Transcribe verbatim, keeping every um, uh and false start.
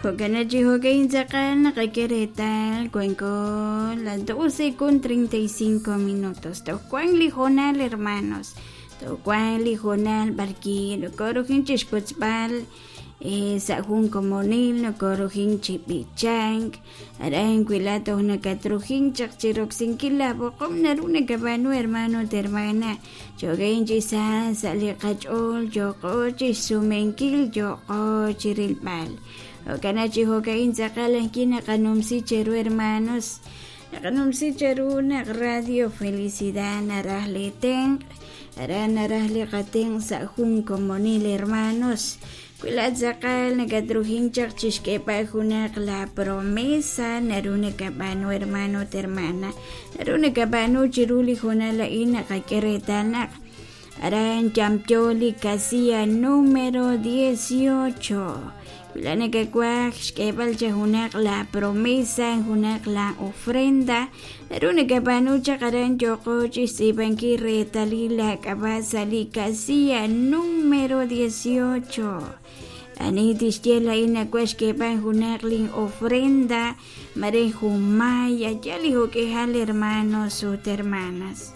Jo'kan chi jo'kan tz'aqal naqak'e reetal wanko las doce con treinta y cinco minutos. Toj wan li hoonal, hermanos, toj wan li hoonal b'arki nokorujin chixwotzb'al sa' jun komonil, nokorujin chi b'ichank aran wi laat toj nakatrujin chaq chiroksinkil la b'oqom naru nakab'aanu, hermano ut hermana. Jo'kan chi sa sa' li qach'ool yo'qo chixsumenkil, yo'qo chirilb'al. Jo'kan chi jo'kan tz'aqal ajki naqanumsi cheru, hermanos, naqanumsi cheru naq Radio Felicidad naraj li tenq', aran naraj li qatenq' sa' jun komonil, hermanos. Wi laat tz'aqal nakatrujin chaq chixk'eeb'al junaq la promesa naru nakab'aanu, hermano ut hermana, naru nakab'aanu chiru li hoonal a'in. Naqak'e reetal naq aran yamyo li casilla número dieciocho. Wi laat nakawaj xk'eeb'al cha junaq la promesa, junaq la ofrenda, naru nakab'aanu chaq aran yo'qo chixtz'iib'ankil reetalil la k'ab'a' sa' li casilla número dieciocho. Ani tixye laa'in nawaj xk'eeb'al junaq lin ofrenda mare jun may, yal li jo'k'ihal, hermanos ut hermanas.